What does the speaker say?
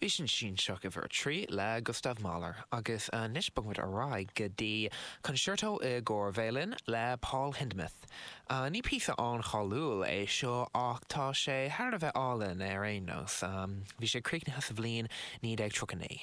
Bhí sin Sinseach uimhir 3 le Gustav Mahler agus anois bogfaimid ar aghaidh go dtí Concerto i gcomhair Veidhlin le Paul Hindemith. Ní píosa an-cháiliúil é seo ach tá sé thar a bheith álainn ar aon nós. Bhí sé críochnaithe sa bhliain 1939.